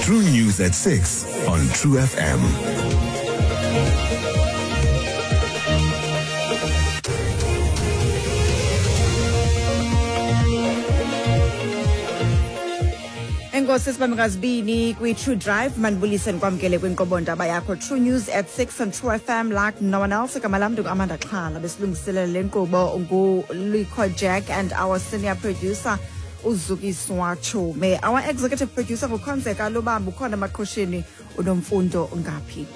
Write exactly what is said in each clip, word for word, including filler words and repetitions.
True News at six on True F M. Enkosi, sibambe ngazibini kwi-True Drive. Mandibulise, ndikwamkele kwinkqubo ndaba yakho, True News at six on True F M, like no one else. Igama lam ndingu-Amanda Xhala. Besilungiselela le nkqubo nguLico Jack and our senior producer uZukiswa Chume. Our executive producer nguKhonzeka Lubamba, ukhona emaqhosheni uNomfundo Ngaphi.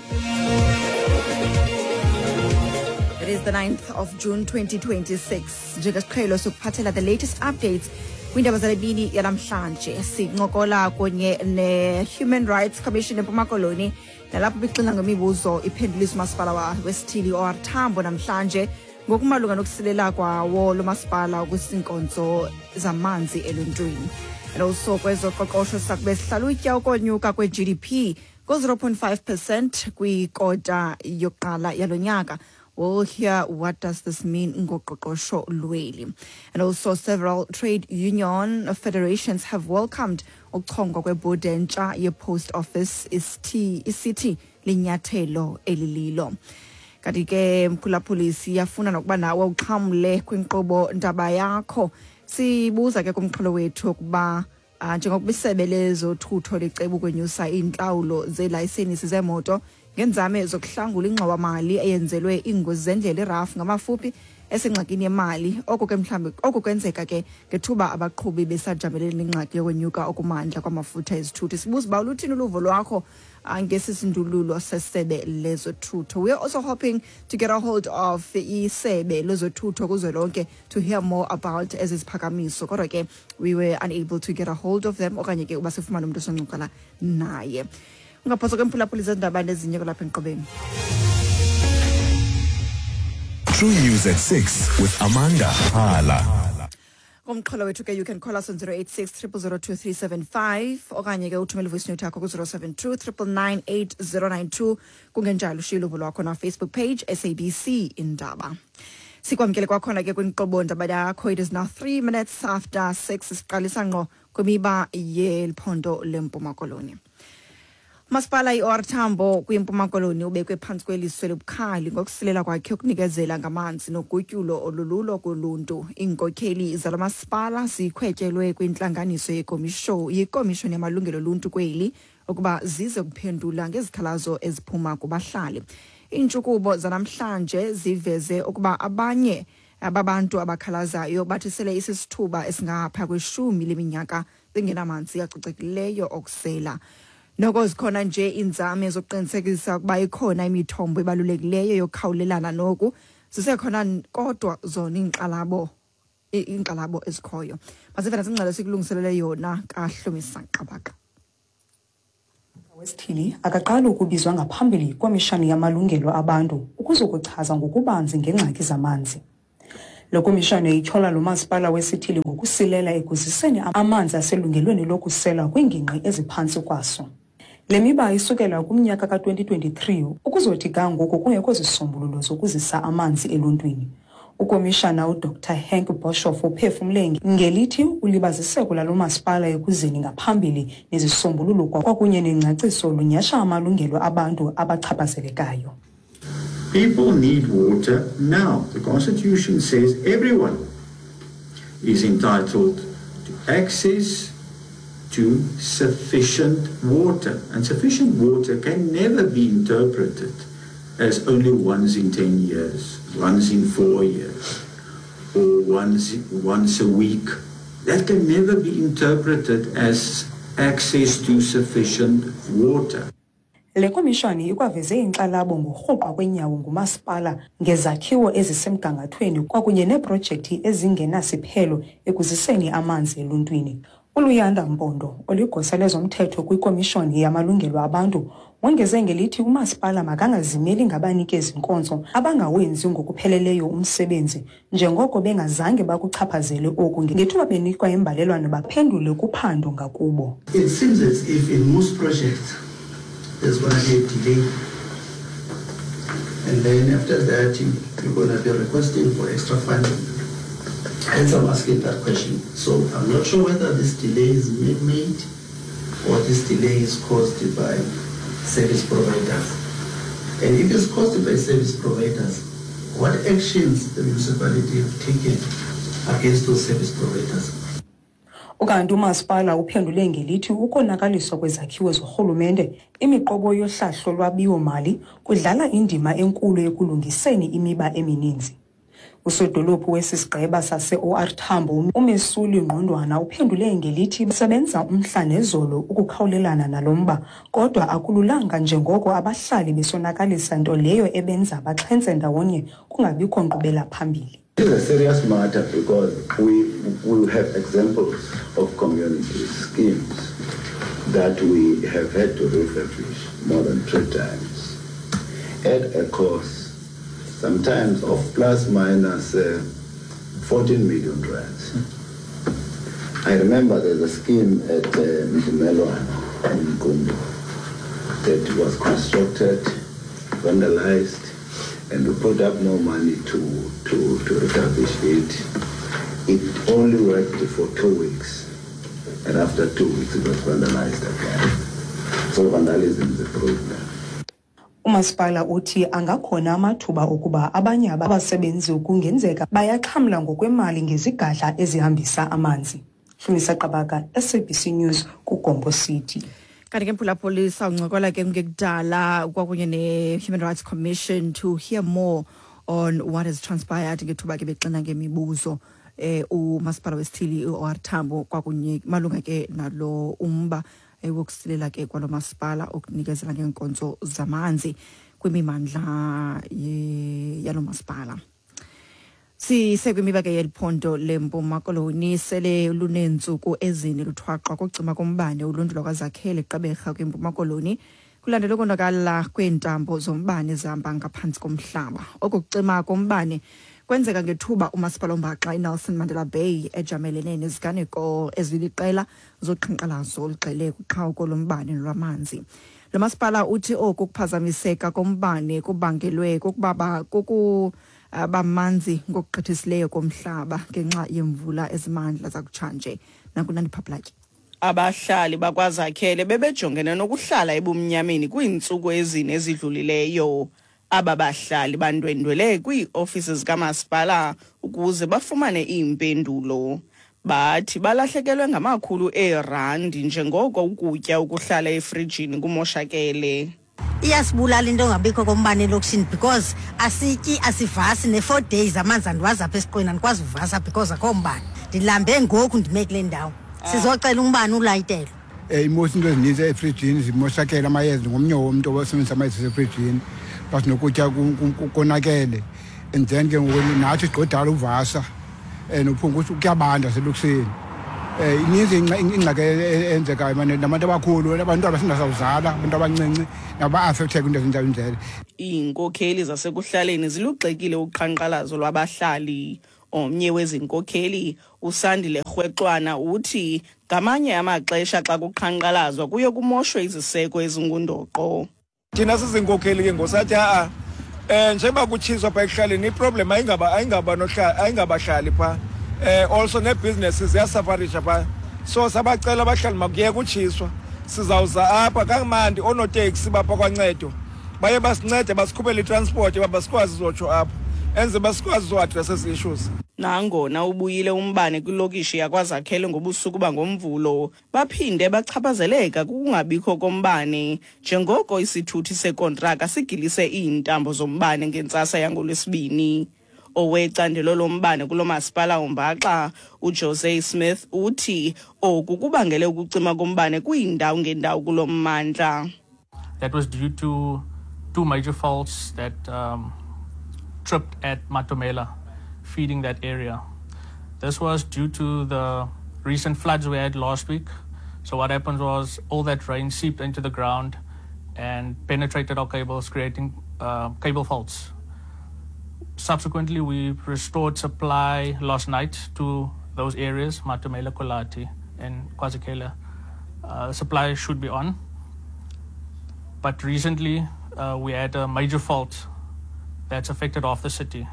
It is the ninth of June twenty twenty-six. Njengesiqhelo sokuphathela the latest updates kwiindaba zale mini yanamhlanje. Sincokola kunye ne-Human Rights Commission eMpuma Koloni, nalapho bixina ngemibuzo iphenduliswa umasipala wa- wesithili O R Tambo namhlanje ngokumalunga nokusilela kwawo lo masipala kwizinkonzo zamanzi eluntwini. And also kwezoqoqosho sakube sihlalutya ukonyuka kwe-G D P ngo-zero point five percent kwikota yokuqala yalo nyaka. We'll hear what does this mean ngoqoqosho lweli. And also several trade union federations have welcomed ukuchongwa kwebhodi entsha ye-Post Office, isithi isithi linyathelo elililo. Kanti ke mphulaphuli, siyafuna nokuba nawe uxhamle kwinkqubo ndaba yakho. Sibuza ke kumxholo wethu ukuba uh, njengokuba isebe lezothutho liceba ukwenyusa iintlawulo zeelayisenisi zeemoto ngenzame zokuhlangula ingxowamali eyenzelwe iingozi zendlela, i-R A F ngamafuphi, esengxakini yemali. Oko ke mhlawumbi oko kwenzeka ke ngethuba abaqhubi besajamelene nengxaki yokwenyuka okumandla kwamafutha ezithuthi. Sibuza uba uluthini uluvo lwakho ah, ngesi sindululo sesebe lezothutho. We are also hoping to get a hold of isebe lezothutho kuzwelonke to hear more about ezi ziphakamiso, kodwa ke we were unable to get a hold of them okanye ke uba sifumane umntu osoncokola naye. Ungaphoswa ke mphulaphuli, zendaba nezinye kwalapha enkqubeni. True News at six with Amanda Hala. Kumxholo wethu ke, you can call us on zero eight six zero zero two three seven five okanye ke uthumele voice note yakho ku-zero seven two nine nine nine eight zero nine two. Kungenjalo ushiye uluvo lwakho na-Facebook page, S A B C Indaba. Sikwamkele kwakhona ke kwinkqubo ndaba yakho. It is now three minutes after six. Siqalisa ngqo kwimiba yeliphondo leMpuma Koloni. Masipala i-O R Tambo kwiMpuma Koloni ubekwe phantsi kweliso elibukhali ngokusilela kwakhe ukunikezela ngamanzi nogutyulo olululo kuluntu. Iinkokheli zalo masipala zikhwetyelwe kwintlanganiso yekomisho yekomishoni yamalungelo oluntu kweli ukuba zize kuphendula ngezikhalazo eziphuma kubahlali. Iintshukubo zanamhlanje ziveze ukuba abanye ababantu abakhalazayo bathi sele isisithuba esingapha kweshumi leminyaka bengenamanzi acocekileyo okusela. Noko zikhona nje iinzame zokuqinisekisa ukuba ikhona imithombo ebalulekileyo yokukhawulelana noku, zisekhona kodwa zona iinkxalabo iinkxalabo ezikhoyo. Masive nasingxelo sikulungiselele yona kaHlomisa Qabaka. Wesithili akaqali ukubizwa ngaphambili yiKomishani yaMalungelo Abantu ukuzokuchaza ngokubanzi ngeengxaki zamanzi. Le komishani ityhola lo masipala wesithili ngokusilela ekuziseni amanzi aselungelweni lokusela kwiingingqi eziphantsi kwaso. Le miba isukela kumnyaka ka-twenty twenty-three ukuzothi ga ngoku kungekho zisombululo zokuzisa amanzi eluntwini. Ukomishana uDr Henk Boshoff uphefumle ngelithi ulibaziseko lalo masipala ekuzeni ngaphambili nezisombululo kwakunye nengcaciso lunyhasha amalungelo abantu abachaphazelekayo. People need water now. The Constitution says everyone is entitled to access to sufficient water. And sufficient water can never be interpreted as only once in ten years, once in four years, or once, once a week. That can never be interpreted as access to sufficient water. Le komishoni ikwaveze inkxalabo ngorhuqwa kweenyawo ngumasipala ngezakhiwo ezisemgangathweni kwakunye neeprojekthi ezingenasiphelo ekuziseni amanzi eluntwini. ULuyanda Mpondo, oligosa lezomthetho kwiKomishoni yaMalungelo Abantu, wongeze ngelithi umasipala makangazimeli ngabanikezi-nkonzo abangawenzi ngokupheleleyo umsebenzi, njengoko bengazange bakuchaphazele oku ngethuba benikwa imbalelwano baphendule kuphando ngakubo. It seems as if in most projects there's going to be a delay. And then after that, you, you're going to be requesting for extra funding. Hence, I'm asking that question. So I'm not sure whether this delay is man-made or this delay is caused by service providers. And if it's caused by service providers, what actions the municipality have taken against those service providers? Ukanti umasipala uphendule ngelithi ukonakaliswa kwezakhiwo zorhulumente, imiqobo yohlahlo lwabiwo-mali kudlala indima enkulu ekulungiseni imiba emininzi. Usodolophu wesi sigqeba sase-O R Tambo, uMesuli Ngqondwana, uphendule ngelithi basebenza umhla nezolo ukukhawulelana nalo mba, kodwa akululanga njengoko abahlali besonakalisa, nto leyo ebenza baxhentse ndawonye kungabikho nkqubela phambili. It is a serious matter because we, we have examples of community schemes that we have had to refurbish more than three times at a cost sometimes of plus minus uh, fourteen million rands. I remember there's a scheme at uh, Mvumelwano in Qumbu that was constructed, vandalized, and we put up more money to, to, to refurbish it. It only worked for two weeks, and after two weeks it was vandalized again. So vandalism is a problem. Umasipala uthi angakhona amathuba okuba abanye abasebenzi kungenzeka bayaxhamla ngokwemali ngezigadla ezihambisa amanzi. Hlumisa Qabaka, S A B C News, kuGompo City. Kanti ke, mphulaphuli, sawuncokola ke ngekudala kwakunye ne-Human Rights Commission to hear more on what has transpired ngethuba ke bexina ngemibuzo eh umasipala wesithili i-O R Tambo kwakunye malunga ke nalo umba eh, wokusilela ke kwalo masipala okunikezela ngeenkonzo zamanzi kwimimandla ye- yalo masipala. Sisekwimiba ke yeliphondo leMpuma Koloni. Sele luneentsuku ezine luthwaxwa kucima kombane uluntu lwakwaZakhele Gqeberha kwiMpuma Koloni, kulandela ukonakala kweentambo zombane zihamba ngaphantsi komhlaba. Oku kucima kombane kwenzeka ngethuba umasipala ombaxa iNelson Mandela Bay ejamelene neziganeko eziliqela zoqhankqalazo olugxile kuqhawuko lombane nolwamanzi. Lo masipala uthi oku kuphazamiseka kombane kubangelwe kukuba kuku bamanzi ngokugqithisileyo komhlaba ngenxa yemvula ezimandla zakutshanje. Nakunandipha Platyi. Abahlali bakwaZakhele bebejongene nokuhlala ebumnyameni kwiintsuku ezine ezidlulileyo. Aba bahlali bandwendwele kwiiofisi zikamasipala ukuze bafumane iimpendulo. Bathi balahlekelwe ngamakhulu eerandi njengoko ukutya ukuhlala efrijini kumoshakele. Iyasibulala into engabikho kombane elokishini because asityi, asivasi. Ne-four days amanzi andiwazi apha esiqweni, andikwazi uvasa because akho mbane. Ndilambe ngoku, ndime kule ndawo sizocela umbane ulayitelwe. um imosi into ezininzi efrijini zimoshakele, amayeza, ngomnye womntu osebenzisa amayeza asefrijini, plus nokutya konakele. And then ke ngoku nathi sigqodala uvasa um nophunga, kuyabanda selokishini. um ininzi ingxaki eyenzekayo mane nabantu abakhulu, abantwana sindasawuzala, abantu abancinci nabo ba-affecteke kwinto ezinjalo indlela. Iinkokheli zasekuhlaleni zilugxekile uqhankqalazo lwabahlali. Omnye wezinkokheli, uSandile Rhwexwana, uthi ngamanye amaxesha xa kuqhankqalazwa kuye kumoshwe iziseko ezingundoqo. Thina sizinkokheli ke ngosathi a um njengoba kutshiswa phaa ekuhlaleni, iproblem ayingaba ayingaba ayingabahlali phaa, um also nee-businesses ziyasufferisha phaa. So sabacela abahlali makuyeke utshiswa, sizawuza apha kamandi. Oonoteksi bapha kwancedo baye basincede, basikhuphele itransport uba basikwazi uzotsho apha enze basikwazi uzoaddress ezi issues. Nangona ubuyile umbane kwilokishi yakwaZakhele ngobusuku bangoMvulo, baphinde bachaphazeleka kukungabikho kombane njengoko isithuthi sekontraka sigilise iintambo zombane ngentsasa yangoLwesibini. Owecandelo lombane kulo masipala umbaxa, uJose Smith, uthi oku kubangele ukucima kombane kwiindawo ngeendawo kulo mmandla. That was due to two major faults that um, tripped at Matomela, feeding that area. This was due to the recent floods we had last week. So what happened was all that rain seeped into the ground and penetrated our cables, creating uh, cable faults. Subsequently, we restored supply last night to those areas, Matomela, Kolati, and KwaZakhele. Uh, supply should be on. But recently, uh, we had a major fault that's affected half the city.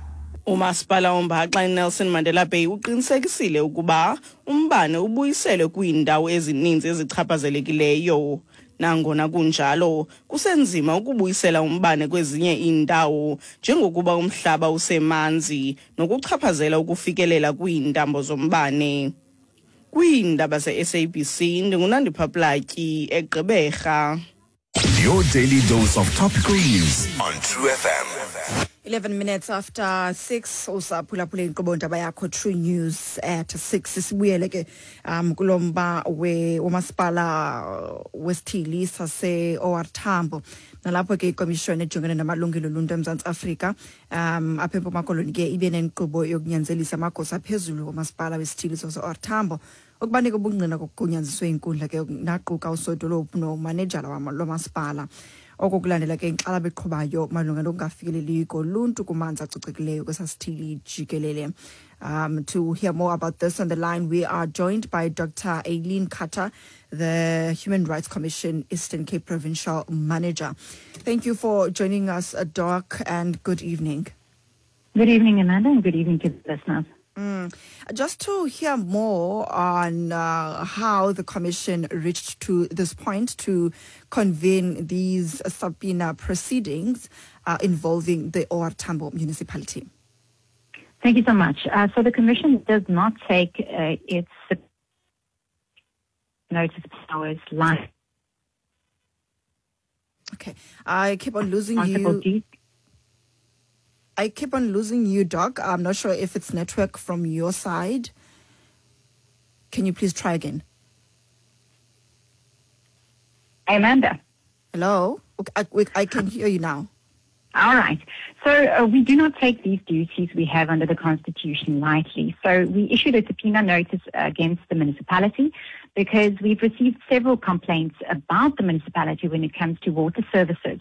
Umasipala ombaxa iNelson Mandela Bay uqinisekisile ukuba umbane ubuyiselwe kwiindawo ezininzi ezichaphazelekileyo. Nangona kunjalo, kusenzima ukubuyisela umbane kwezinye iindawo njengokuba umhlaba usemanzi nokuchaphazela ukufikelela kwiintambo zombane. Kwiindaba ze-S A B C, ndinguNandipha Platyi eGqeberha. Your daily dose of topical news on True F M. eleven minutes after six, usaphulaphula inkqubo ndaba yakho True News at six. Sibuyele ke um kulomba we womasipala wesithili sase O R Tambo. Nalapho ke ikomishoni ejongene namalungelo oluntu eMzantsi Afrika um apha eMpuma Koloni ke ibe nenkqubo yokunyanzelisa amagosa aphezulu womasipala wesithili sase O R Tambo ukubanika ubungqina kokugunyanziswe inkundla ke naquka usodolophu nomanejala lomasipala. Oko kulandela ke inkxalabo eqhubayo malunga nokungafikeleli koluntu kumanzi acocekileyo kwesasithili jikelele. Um, to hear more about this on the line, we are joined by Doctor Eileen Cutter, the Human Rights Commission Eastern Cape Provincial Manager. Thank you for joining us, Doc, and good evening. Good evening, Amanda, and good evening to the listeners. Mm. Just to hear more on uh, how the Commission reached to this point to convene these subpoena proceedings uh, involving the O R Tambo municipality. Thank you so much. Uh, so the Commission does not take uh, its notice powers lightly. Okay, I keep on losing you. D. I keep on losing you, Doc. I'm not sure if it's network from your side. Can you please try again? Amanda. Hello? Okay, I, we, I can hear you now. All right. So uh, we do not take these duties we have under the Constitution lightly. So we issued a subpoena notice against the municipality because we've received several complaints about the municipality when it comes to water services.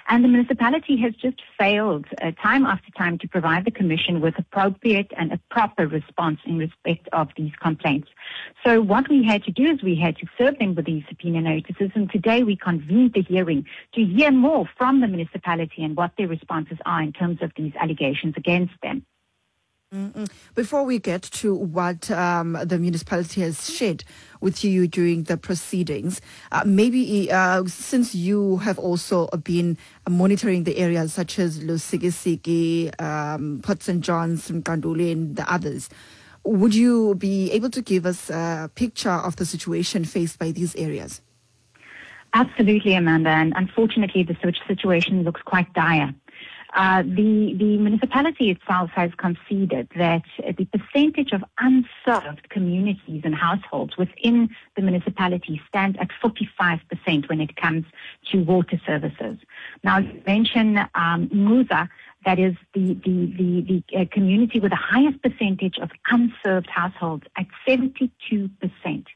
And the municipality has just failed uh, time after time to provide the Commission with appropriate and a proper response in respect of these complaints. So what we had to do is we had to serve them with these subpoena notices, and today we convened the hearing to hear more from the municipality and what their responses are in terms of these allegations against them. Mm-mm. Before we get to what um, the municipality has shared with you during the proceedings, uh, maybe uh, since you have also been monitoring the areas such as Lusikisiki, um, Port Saint John's, Mqanduli and the others, would you be able to give us a picture of the situation faced by these areas? Absolutely, Amanda. And unfortunately, the situation looks quite dire. Uh, the, the municipality itself has conceded that the percentage of unserved communities and households within the municipality stands at forty-five percent when it comes to water services. Now, you mentioned um, Musa, that is the, the, the, the uh, community with the highest percentage of unserved households at seventy-two percent.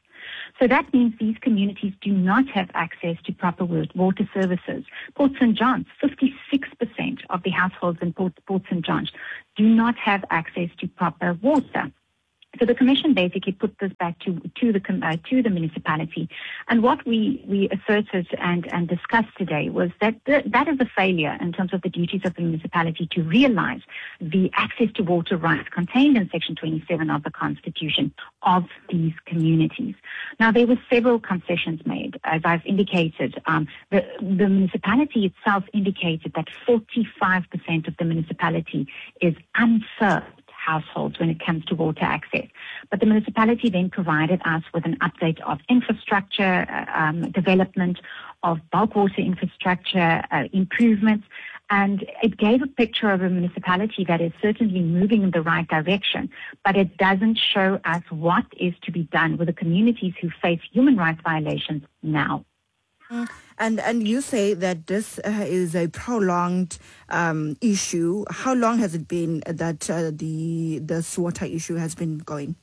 So that means these communities do not have access to proper water services. Port Saint John's, fifty-six percent of the households in Port, Port Saint John's do not have access to proper water. So the Commission basically put this back to, to, the, uh, to the municipality. And what we, we asserted and, and discussed today was that the, that is a failure in terms of the duties of the municipality to realize the access to water rights contained in Section twenty-seven of the Constitution of these communities. Now, there were several concessions made. As I've indicated, um, the, the municipality itself indicated that forty-five percent of the municipality is unserved households when it comes to water access. But the municipality then provided us with an update of infrastructure, um, development of bulk water infrastructure, uh, improvements, and it gave a picture of a municipality that is certainly moving in the right direction, but it doesn't show us what is to be done with the communities who face human rights violations now. And and you say that this uh, is a prolonged um, issue. How long has it been that uh, the this water issue has been going?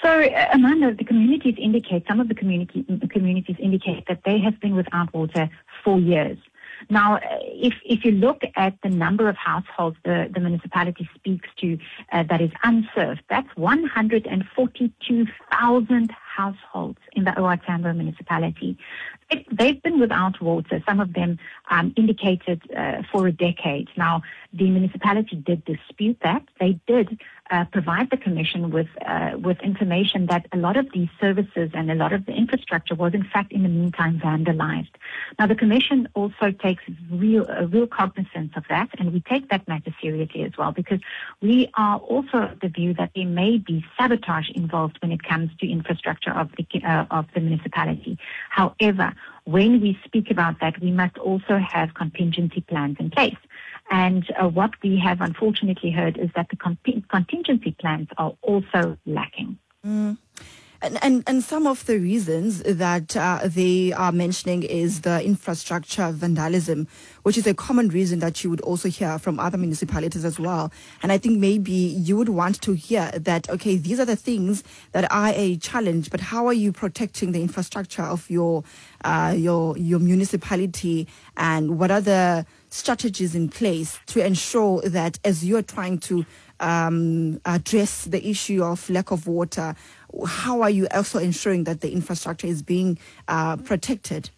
So, Amanda, the communities indicate, some of the community, communities indicate that they have been without water for years. Now, if if you look at the number of households the, the municipality speaks to uh, that is unserved, that's one hundred forty-two thousand households in the O R Tambo municipality. It, they've been without water, some of them um, indicated uh, for a decade. Now, the municipality did dispute that. They did uh, provide the commission with, uh, with information that a lot of these services and a lot of the infrastructure was, in fact, in the meantime, vandalized. Now, the commission also takes real, uh, real cognizance of that, and we take that matter seriously as well, because we are also of the view that there may be sabotage involved when it comes to infrastructure of the, uh, of the municipality. However, when we speak about that, we must also have contingency plans in place. And uh, what we have unfortunately heard is that the con- contingency plans are also lacking. Mm. And, and and some of the reasons that uh, they are mentioning is the infrastructure vandalism, which is a common reason that you would also hear from other municipalities as well. And I think maybe you would want to hear that, okay, these are the things that are a challenge, but how are you protecting the infrastructure of your, uh, your, your municipality, and what are the strategies in place to ensure that as you're trying to um, address the issue of lack of water, how are you also ensuring that the infrastructure is being uh, protected?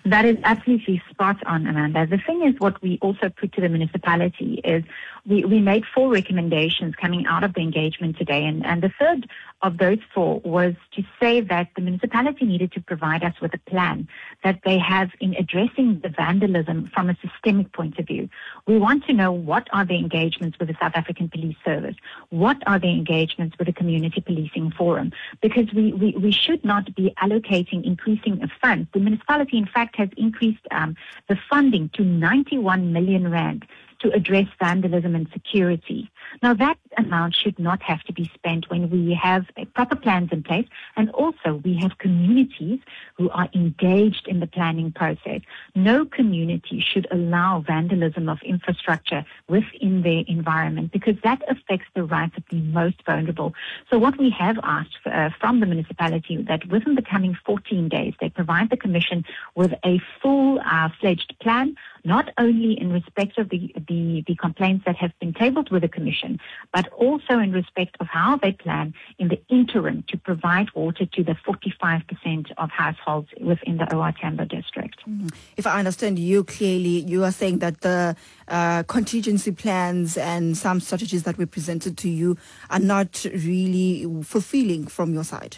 That is absolutely spot on, Amanda. The thing is, what we also put to the municipality is we, we made four recommendations coming out of the engagement today. And, and the third of those four was to say that the municipality needed to provide us with a plan that they have in addressing the vandalism from a systemic point of view. We want to know, what are the engagements with the South African Police Service? What are the engagements with the Community Policing Forum? Because we, we, we should not be allocating increasing of funds. The municipality, in fact, has increased um, the funding to ninety-one million rand to address vandalism and security. Now, that amount should not have to be spent when we have proper plans in place, and also we have communities who are engaged in the planning process. No community should allow vandalism of infrastructure within their environment, because that affects the rights of the most vulnerable. So what we have asked for, uh, from the municipality, that within the coming fourteen days, they provide the commission with a full-fledged uh, plan, not only in respect of the, the, the complaints that have been tabled with the commission, but also in respect of how they plan in the interim to provide water to the forty-five percent of households within the O R Tambo district. Mm-hmm. If I understand you clearly, you are saying that the uh, contingency plans and some strategies that were presented to you are not really fulfilling from your side.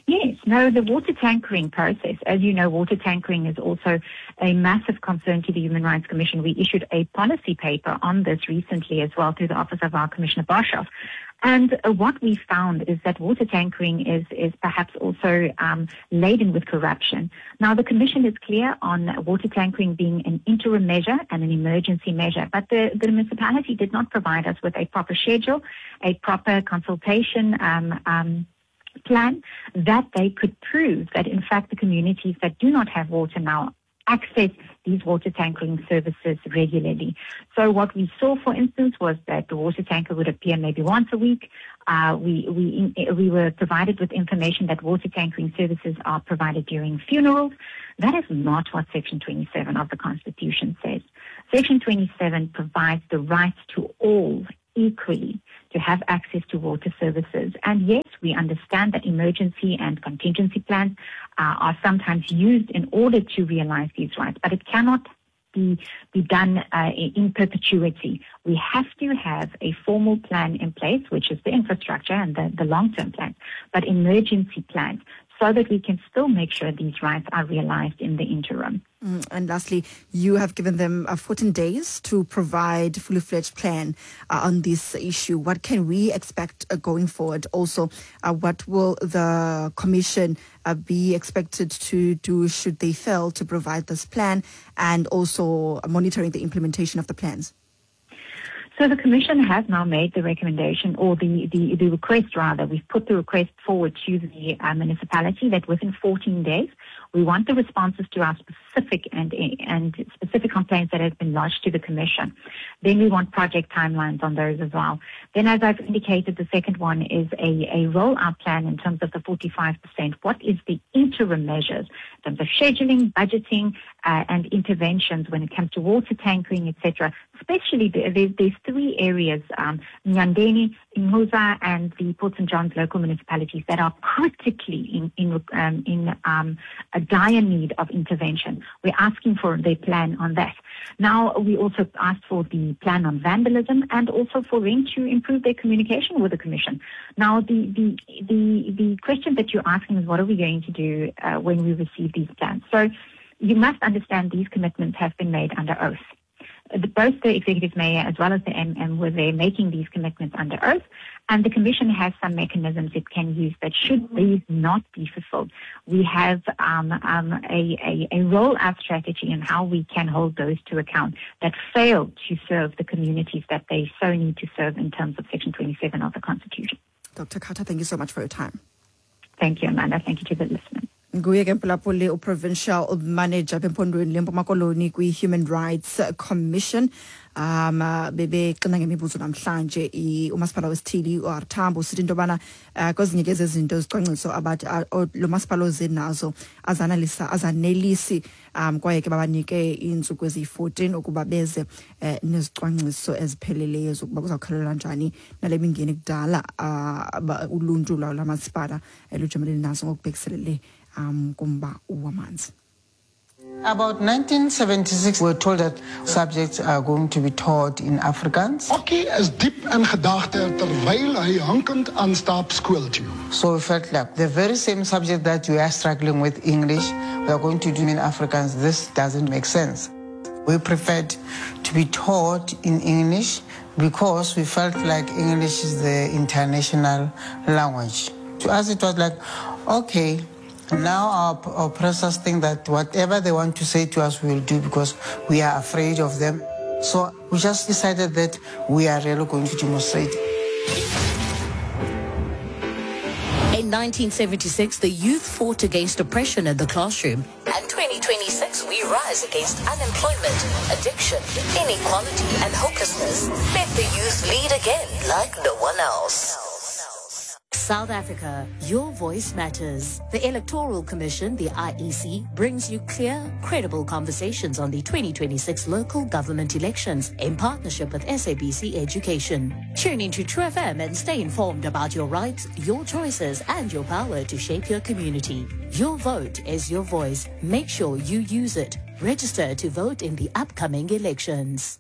Yes, no, the water tankering process, as you know, water tankering is also a massive concern to the Human Rights Commission. We issued a policy paper on this recently as well through the office of our Commissioner Boshoff. And uh, what we found is that water tankering is, is perhaps also um, laden with corruption. Now, the Commission is clear on water tankering being an interim measure and an emergency measure, but the, the municipality did not provide us with a proper schedule, a proper consultation um, um plan that they could prove that, in fact, the communities that do not have water now access these water tankering services regularly. So what we saw, for instance, was that the water tanker would appear maybe once a week. Uh, we, we, we were provided with information that water tankering services are provided during funerals. That is not what Section twenty-seven of the Constitution says. Section twenty-seven provides the right to all equally to have access to water services. And yes, we understand that emergency and contingency plans uh, are sometimes used in order to realize these rights, but it cannot be, be done uh, in perpetuity. We have to have a formal plan in place, which is the infrastructure and the, the long-term plans, but emergency plans, so that we can still make sure these rights are realized in the interim. Mm, and lastly, you have given them uh, fourteen days to provide fully fledged plan uh, on this issue. What can we expect uh, going forward? Also, uh, what will the Commission uh, be expected to do should they fail to provide this plan, and also monitoring the implementation of the plans? So the Commission has now made the recommendation, or the, the, the request rather. We've put the request forward to the uh, municipality that within fourteen days, we want the responses to our specific and, and specific complaints that have been lodged to the Commission. Then we want project timelines on those as well. Then, as I've indicated, the second one is a, a rollout plan in terms of the forty-five percent. What is the interim measures in terms of scheduling, budgeting, uh, and interventions when it comes to water tankering, et cetera? Especially the, there's, there's three areas, um, Nyandeni, Ingquza, and the Port Saint John's local municipalities communities that are critically in, in, um, in um, a dire need of intervention. We're asking for their plan on that. Now, we also asked for the plan on vandalism and also for them to improve their communication with the Commission. Now, the, the, the, the question that you're asking is, what are we going to do uh, when we receive these plans? So you must understand these commitments have been made under oath. The, both the executive mayor as well as the M M were there making these commitments under oath, and the Commission has some mechanisms it can use that should these not be fulfilled. We have um, um, a, a, a roll-out strategy on how we can hold those to account that fail to serve the communities that they so need to serve in terms of Section twenty-seven of the Constitution. Doctor Khathwa, thank you so much for your time. Thank you, Amanda. Thank you to the listeners. Nguye ke mphulaphuli uprovincial manager eMpondweni leMpuma Koloni kwi-Human Rights Commission. Um bebexina ngemibuzo namhlanje umasipala wesithili u R Tambo usithi into yobana uh, kwezinye ke zezinto zicwangciso abathi lo masipala oze nazo azanalisa azanelisi um kwaye ke babanike iintsuku eziyi-fourteen ukuba beze uh, nezicwangciso ezipheleleyo zokuba kuzawukhalelwa njani nale mingeni kudala uh, uluntu lwawo lamasipala lujamelene nazo ngokubhekiselele um kumba wamanzi. About nineteen seventy-six, we were told that subjects are going to be taught in Afrikaans. Okkie is diep in gedagte terwyl hy hinkend aanstap skool toe. So we felt like the very same subject that we are struggling with, English, we are going to do in Afrikaans. This doesn't make sense. We preferred to be taught in English because we felt like English is the international language. To us, it was like, okay, now our oppressors think that whatever they want to say to us, we will do because we are afraid of them. So we just decided that we are really going to demonstrate. In nineteen seventy-six, the youth fought against oppression in the classroom. And twenty twenty-six, we rise against unemployment, addiction, inequality, and hopelessness. Let the youth lead again like no one else. South Africa, your voice matters. The Electoral Commission, the I E C, brings you clear, credible conversations on the twenty twenty-six local government elections in partnership with S A B C Education. Tune into True F M and stay informed about your rights, your choices, and your power to shape your community. Your vote is your voice. Make sure you use it. Register to vote in the upcoming elections.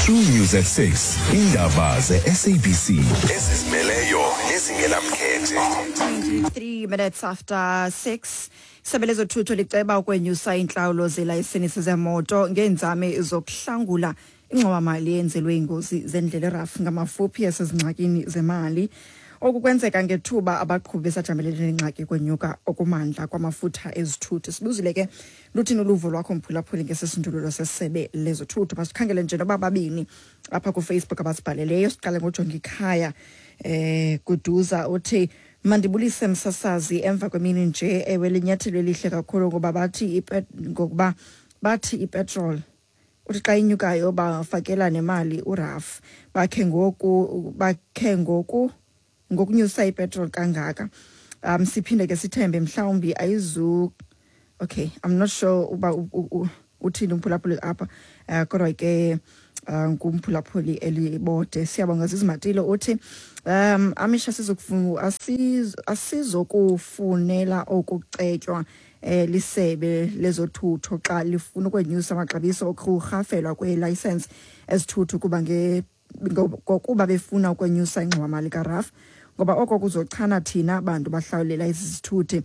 True News at six. Indaba ze-S A B C. Ezizimeleyo nezingenamkhethe. twenty-three minutes after six. Isebe lezothutho liceba ukwenyusa iintlawulo zelayisenisi zemoto ngeenzame zokuhlangula ingxowamali eyenzelwe iingozi zendlela erafu ngamafuphi esezingxakini zemali. Oku kwenzeka ngethuba abaqhubi besajamelene nengxaki kwenyuka okumandla kwamafutha ezithuthi. Sibuzile ke luthini uluvo lwakho mphulaphuli ngesisindululo sesebe lezothutho. Masikhangele nje noba babini apha kuFacebook abasibhaleleyo. Siqale ngojonga ikhaya eh Guduza uthi mandibulise msasazi emva kwemini nje, ewe linyathelo elihle kakhulu ngoba bathi ngokuba bathi ipetrol uthi xa inyukayo bafakela nemali uRAF bakhe ngoku bakhe ngoku ngokunyusa ipetrol kangaka. Um siphinde ke sithembe mhlawumbi ayizu okay I'm not sure uba uthini umphulaphuli apha uh, kodwa ke ngumphulaphuli elibode. Siyabonga Zizimatilo uthi um amisha sizokufuna asizokufunela okucetywa eh lisebe lezothutho xa lifuna ukwenyusa amaxabiso okurhafelwa kwelicense ezithuthu kuba nge ngokuba befuna ukwenyusa ingxowamali kaRAF ngoba oko kuzochana thina abantu bahlawulela izithuthi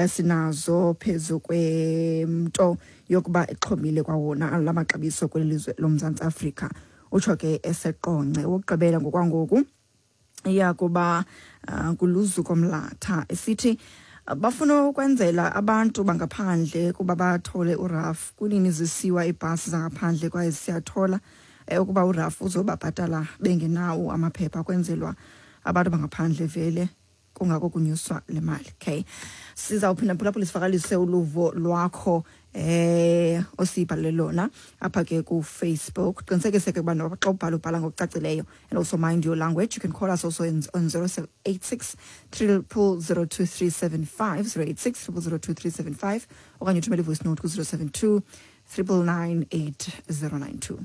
sinazo phezu kwemto yokuba ixhomile kwawona lamaxabiso kwelizwe loMzantsi Afrika. Utsho ke eseqonce wokugqibela ngokwangoku iya kuba uh, kuluzuko mlatha esithi bafuna ukwenzela abantu bangaphandle kuba bathole uRAF kunini zisiwa ibhasi zangaphandle kwaye siyathola ukuba uRAF uzobabhatala bengenawo amaphepha kwenzelwa abantu bangaphandle vele kungako kunyuswa le mali. Okay, sizawuphinda phulaphula sivakalise uluvo lwakho eh osibhalele lona apha ke ku Facebook. Qinisekise ke kuba xa ubhala ubhala ngokucacileyo, and also mind your language. You can call us also in, on zero eight six triple zero two three seven five, zero eight six triple zero two three seven five, okanye uthumele voice note ku zero seven two triple nine eight zero nine two.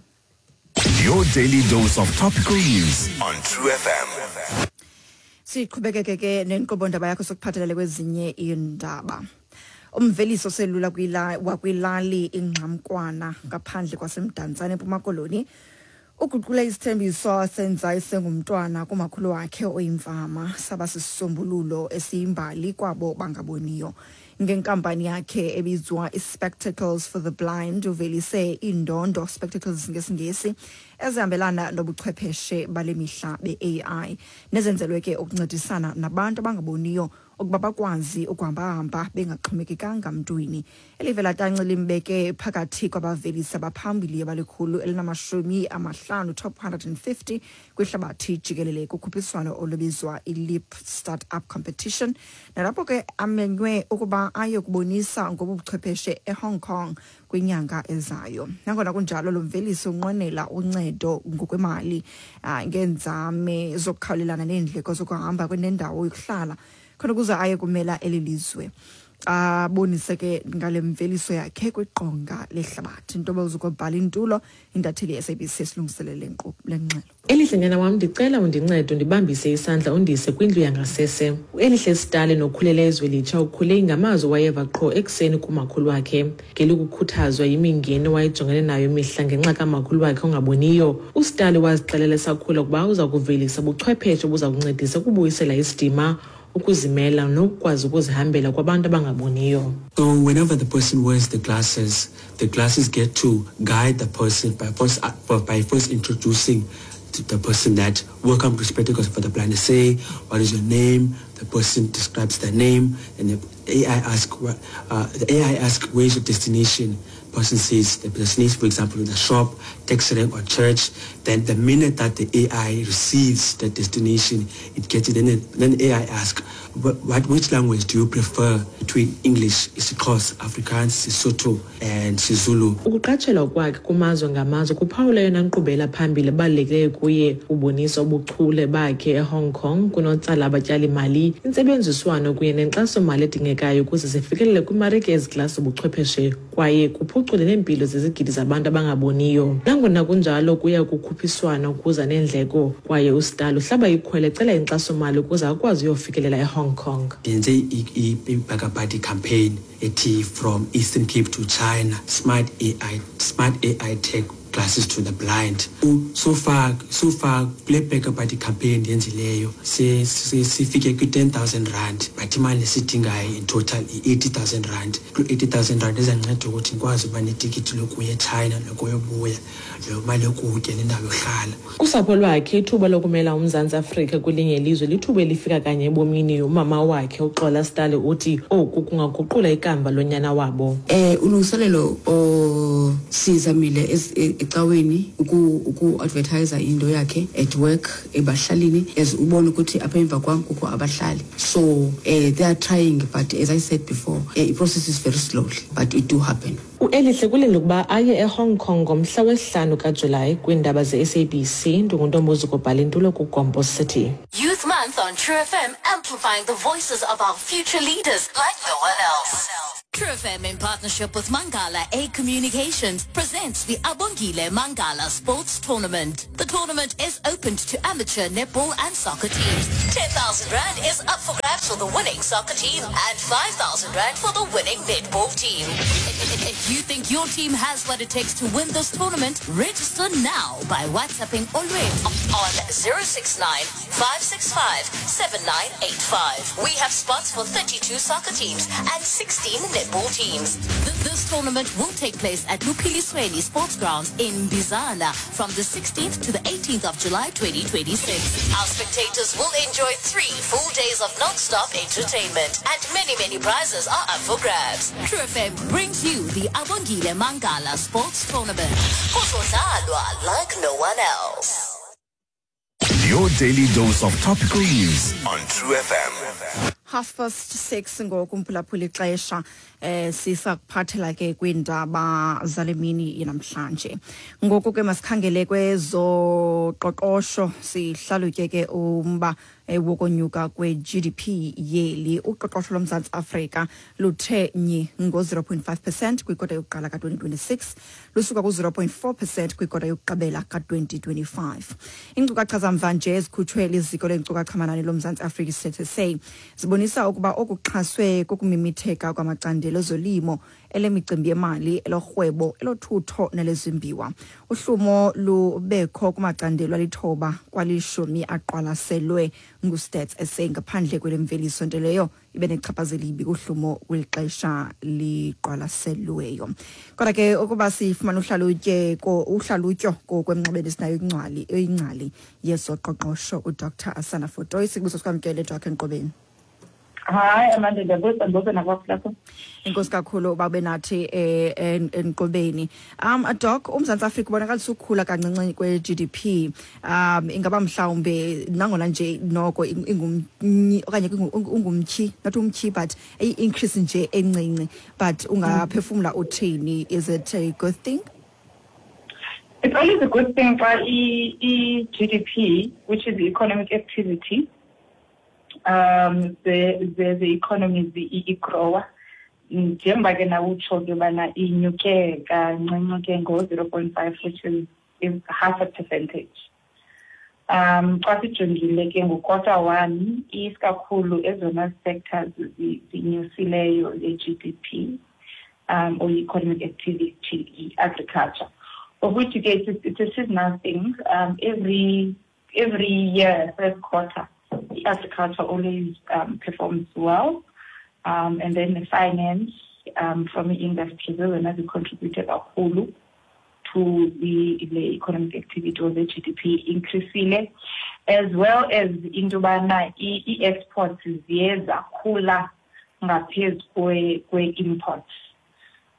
Your daily dose of topical news on True F M. Siqhubekeke ke nenkqubo ndaba yakho sokuphathelele kwezinye iindaba. Umveliso selula kwila wakwilali ingxamkwana ngaphandle kwaseMdantsane eMpuma Koloni uguqula isithembiso senza isengumntwana kumakhulu wakhe oyimfama saba sisisombululo esiyimbali kwabo bangaboniyo. Ngenkampani yakhe ebizwa i-Spectacles for the Blind uvelise iindondo spectacles ngesiNgesi ezihambelana nobuchwepheshe bale mihla be-A I nezenzelwe ke ukuncedisana nabantu abangaboniyo ukuba bakwazi ukuhambahamba bengaxhomekekanga mntwini. Elivela tanci limbeke phakathi kwabavelisi abaphambili abalikhulu elinamashumi amahlanu top one hundred and fifty kwihlabathi jikelele kukhuphiswano olubizwa i-Leap Startup Competition, nalapho ke amenywe ukuba aye kubonisa ngobuchwepheshe eHong Kong kwinyanga ezayo. Nangona kunjalo, lo mvelisi unqwenela uncedo ngokwemali ngeenzame zokukhawulelana neendleko zokuhamba kwenendawo yokuhlala khona ukuze aye kumela eli lizwe. Abonise ke ngale mveliso yakhe kwiqonga lehlabathi. Ntobozo ukubhala intulo intatheli ye-S A B C esilungiselele le ngxelo. Elihle nyana wam, ndicela undincede ndibambise isandla undise kwindlu yangasese. UElihle Stale nokhulele eZwelitsha ukhule ngamazwi wayeva qho ekuseni kumakhulu wakhe. Ngelikukhuthazwa yimingeni wayejongene nayo imihla ngenxa kamakhulu wakhe ongaboniyo. UStale wazixelela esakhula ukuba uza kuvelisa ubuchwepheshe obuza kuncedisa ukubuyisela isidima, ukuzimela nokukwazi ukuzihambela kwabantu abangaboniyo. So whenever the person wears the glasses, the glasses get to guide the person by first, by first introducing to the person that welcome to Spectacles for the Blind. Say, what is your name? The person describes their name, and the A I asks, uh, the A I asks, where's your destination? Person says the destination, for example, in the shop, taxi rank, or church. Then the minute that the A I receives the destination, it gets it. Then, it, then the A I asks, what, what, which language do you prefer between English, isiXhosa, Afrikaans, Sesotho, and isiZulu? Ukuqatshelwa kwakhe kumazwe ngamazwe kuphawula yona nkqubela phambili ebalulekileyo kuye. Ubonisa ubuchule bakhe eHong Kong kunotsala abatyali-mali, intsebenziswano kunye nenkxaso-mali edingekayo ukuze zifikelele kwimarike eziklasi ubuchwepheshe kwaye kuphucule neempilo zezigidi zabantu abangaboniyo. Nangona kunjalo, kuya kukhuphiswana ukuza neendleko kwaye uStalo uhlaba ikhwele ecela inkxaso-mali ukuze akwazi uyofikelela eHong Kong. Ndenze i-BackaBuddy campaign ethi from Eastern Cape to China, smart A I, smart A I tech glasses to the blind. So far, so far, kule BackaBuddy campaign ndiyenzileyo sifike kwi ten thousand rand, but imali esidingayo in total i-eighty thousand rand. Kwi eighty thousand rand izanceda ukuthi ndikwazi uba netikiti lokuya eChina nokuyobuya, lo mali yokutya nendawo yohlala. Kusapho lwakhe ithuba lokumela uMzantsi Afrika kwelinye ilizwe lithuba elifika kanye ebomini. Umama wakhe uXola Stale uthi oku kungaguqula ikamva lonyana wabo. Eh ulungiselelo osizamile ecaweni uku uku advertise into yakhe at work ebahlalini, as ubona ukuthi apha emva kwam kukho abahlali. So eh, they are trying, but as I said before, eh, the process is very slowly, but it do happen. uElihle kulindele ukuba aye eHong Kong ngomhla wesihlanu kaJulayi. Kwiindaba ze-S A B C, ndinguntombozi kobhala intulo kuGompo City. Youth Month on True F M, amplifying the voices of our future leaders like no one else. True F M, in partnership with Mangala A Communications, presents the Abongile Mangala Sports Tournament. The tournament is open to amateur netball and soccer teams. ten thousand rand is up for grabs for the winning soccer team and five thousand rand for the winning netball team. If you think your team has what it takes to win this tournament, register now by WhatsApping Olwethu on zero six nine, five six five, seven nine eight five. We have spots for thirty-two soccer teams and sixteen netball teams. This tournament will take place at Lupilisweni Sports Grounds in Bizana from the sixteenth to the eighteenth of July twenty twenty-six. Our spectators will enjoy three full days of non-stop entertainment, and many, many prizes are up for grabs. True F M brings you the Abongile Mangala Sports Tournament. Kuzodlalwa like no one else. Your daily dose of topical news on True F M. Half past six ngoku mphulaphula ixesha eh sisakuphathela ke kwiindaba zale mini namhlanje. Ngoku ke masikhangele kwezoqoqosho sihlalutye ke umba wokonyuka kwe-G D P yeli. Uqoqosho loMzantsi Afrika luthe nyi ngo-zero point five percent kwikota yokuqala ka-twenty twenty-six lusuka ku-zero point four percent kwikota yokugqibela ka-twenty twenty-five. Iinkcukacha zamva nje ezikhutshwe liziko leenkcukacha-manani loMzantsi Afrika i-S S A zibonisa ukuba okuxhaswe kokumimitheka kwamacandelo ezolimo, elemicimbi yemali, elorhwebo, elothutho nelezimbiwa. Uhlumo lubekho kumacandelo alithoba kwalishumi aqwalaselwe nguStats S A ngaphandle kwelemveliso, nto leyo ibe nechaphazela elibi kuhlumo kweli xesha liqwalaselweyo. Kodwa ke ukuba sifumana uhlalutye uhlalutyo kokwemnxebeni sinayo ingcwali ingcali yezoqoqosho uDoctor Asanda Fotoyi. Sikubuso sikwamkele Doc enkqubeni. Hayi Amanda, ndiyabuza ndibuza nakwaphi. Enkosi kakhulu uba ube nathi enkqubeni. Um Doc, uMzantsi Afrika ubonakalisa ukukhula kancinci kwe-G D P. Um ingaba mhlawumbe nangona nje noko ingumnyi okanye ungumtyhi, not umtyhi but i-increase nje encinci, but ungaphefumla uthini? Is it a good thing? It's always a good thing for i-G D P, which is the economic activity. Um, the the the economy igrowa njengoba ke nawe utsho ke bana inyuke kancinci ke ngo zero point five, which is, is half a percentage. Um xa sijongile ke ngo-quarter one isikakhulu ezona sectors zinyusileyo le-G D P um or economic activity, agriculture, of which ke it's, it's a seasonal thing. Um, every every year first quarter agriculture always um, performs well, um, and then the finance um, from the industry and as contributed kakhulu to the, the economic activity or the G D P increasile, as well as into bana i-exports ziye zakhula ngaphezu kwe-imports.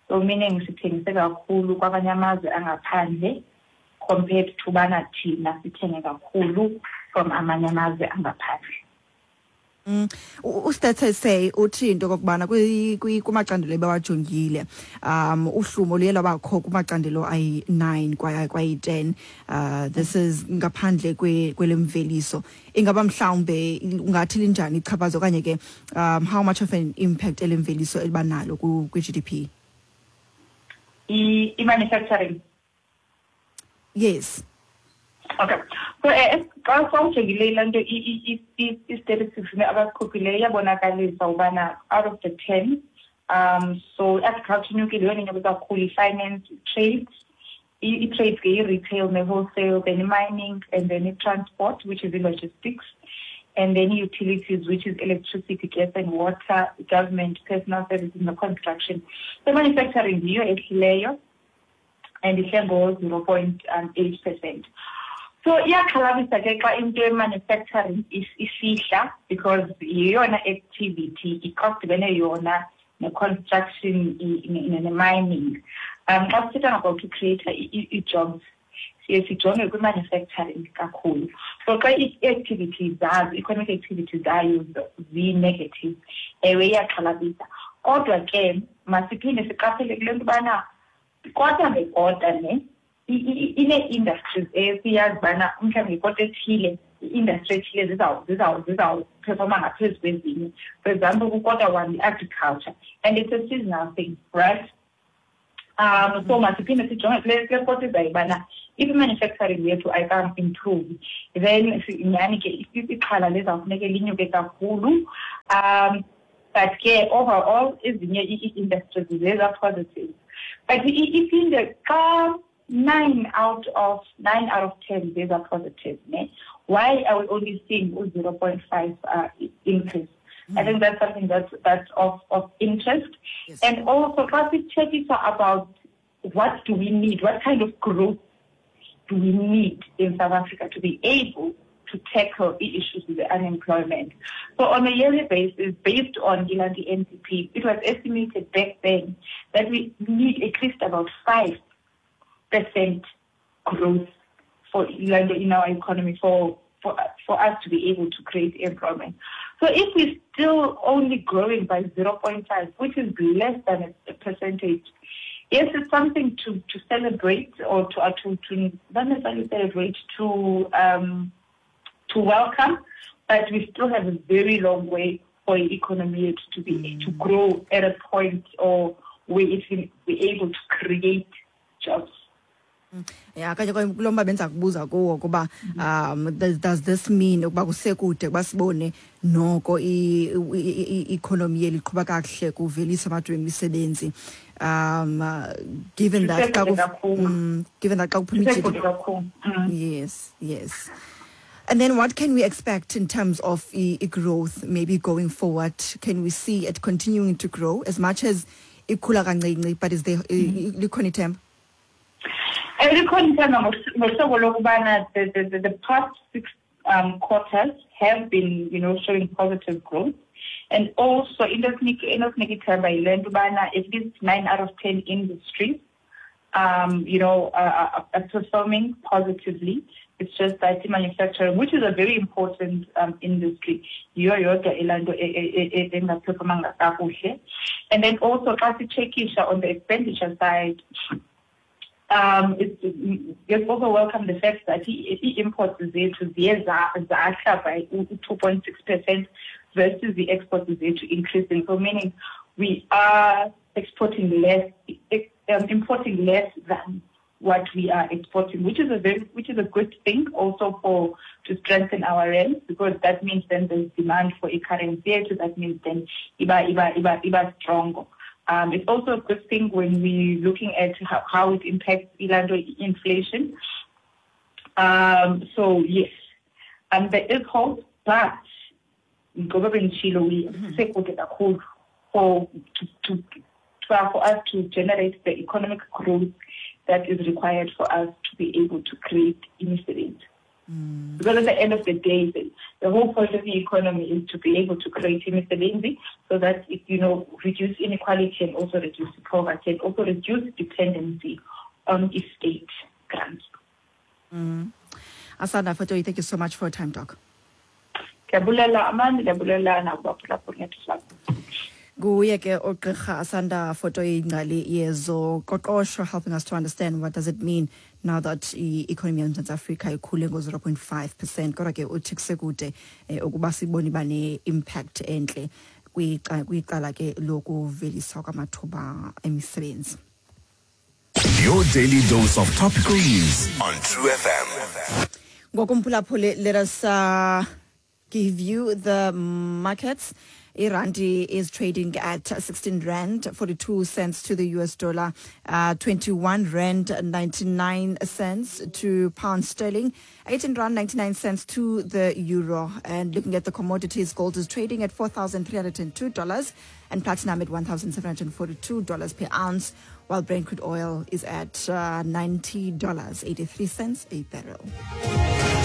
So meaning sithengise kakhulu kwamanye amazwe angaphandle compared to bana thina sithenge kakhulu from amanye amazwe angaphandle. Mm. UStats S A uthi into okokubana kumacandelo ebawajongile um uhlumo luye lwabakho kumacandelo ayi-nine kwayi-ten. Uh, this is ngaphandle kwelemveliso. Ingaba mhlawumbe ungathi linjani ichaphaza okanye ke um how much of an impact elemveliso elibanalo kwi-G D P? I-manufacturing. Yes. Okay. So xa sawujongile laa nto i-statistics abazikhuphileyo iyabonakalisa ubana out of the ten, um so agriculture inyukile yona inyuke kakhulu, i-finance, trade, i-trade ke i-retail ne-wholesale, then i-mining, and then i-transport, which is i-logistics, and then utilities, which is electricity, gas and water, government, personal services, and construction. So manufacturing yiyo ehlileyo and ihle ngo-zero point eight percent. So iyaxhalabisa ke xa into ye-manufacturing isihla because yeyona activity xa kudibene yona ne-construction ne-mining. Um xa sithetha about to create ii-jobs siye sijonge kwi-manufacturing kakhulu. So xa ii-activities zazo, economic activities zayo zi-negative, ewe iyaxhalabisa. Kodwa ke masiphinde siqaphele kule nto ubana kota ngekota ne ine-industries esiyazi ubana mhlawumbi ngekota ethile i-industry ethile zizawuphefoma ngaphezu kwezinye. For example, kukota one i-agriculture, and it's a seasonal thing, right? Um, so masiphinde sijonge kule kule kota izayo ubana if i-manufacturing yethu ayika-improve, then nyhani ke ixhala lizawufuneke linyuke kakhulu. Um, but ke overall ezinye ii-industries ziza-positive. But iphinde xa nine out of nine out of ten these are positive, ne? Why are we only seeing zero point five uh, increase? Mm. I think that's something that's that's of, of interest. Yes. And also classic check is about what do we need, what kind of growth do we need in South Africa to be able to tackle the issues with the unemployment. So on a yearly basis, based on the N D P, it was estimated back then that we need at least about five percent growth for in our economy for, for, for us to be able to create employment. So if we're still only growing by zero point five, which is less than a percentage, yes, it's something to, to celebrate or to, uh, to, to not necessarily celebrate, to, um, to welcome, but we still have a very long way for the economy to be to grow at a point or where it can be able to create jobs. Yeah, kanye kulo mba benza kubuza kuwo kuba um does, does this mean ukuba kusekude basibone noko i-economy yeli iqhuba kakuhle kuvelisa amathuba emisebenzi, um uh, given that mm, given that xa kuphuma yes yes And then what can we expect in terms of e growth maybe going forward? Can we see it continuing to grow as much as ikhula kancinci, but is there likhona ithemba? Likhona ithemba ngohlobo lokubana the, the, the past six um, quarters have been, you know, showing positive growth. And also, into esinika ithemba yile nto ubana at least nine out of ten industries, um, you know, are, are performing positively. It's just that manufacturing, which is a very important um, industry, yiyo yodwa elaa nto engaphefomanga kakuhle. And then also, xa sichekisha on the expenditure side, um, it's, it's also welcome the fact that i-imports zethu ziye zahla by two point six percent versus the exports zethu increasing. So meaning we are exporting less, um, importing less than what we are exporting, which is a very, which is a good thing also for to strengthen our rand, because that means then there's demand for a currency, so that means then iba iba iba iba stronger. Um, it's also a good thing when we're looking at how, how it impacts ilando inflation. Um, so yes, um, there is hope, but ngoba benditshilo, we sekude kakhulu for to, to, to for us to generate the economic growth that is required for us to be able to create imisebenzi. Mm. Because at the end of the day, the, the whole point of the economy is to be able to create imisebenzi so that it, you know, reduce inequality and also reduce poverty and also reduce dependency on the state grants. Mm. Asanda Fotoyi, thank you so much for your time, Doc. Ndiyabulela Amanda, ndiyabulela nakubaphulaphuli ngethuba. Nguye ke ugqirha Asanda Fotoyi, ingcali yezoqoqosho, helping us to understand what does it mean now that i-economy yoMzantsi Afrika ikhule ngo-zero point five percent. Kodwa ke uthi kusekude ukuba sibone iba ne-impact entle kwicala ke lokuveliswa kwamathuba emisebenzi. Your daily dose of topical news on True F M. Ngokumphulaphuli, let us uh, give you the markets. Irandi is trading at sixteen rand forty-two cents to the U S dollar, uh, twenty-one rand ninety-nine cents to pound sterling, eighteen rand ninety-nine cents to the euro. And looking at the commodities, gold is trading at four thousand three hundred and two dollars and platinum at one thousand seven hundred forty-two dollars per ounce, while Brent crude oil is at uh, ninety dollars eighty-three cents a barrel.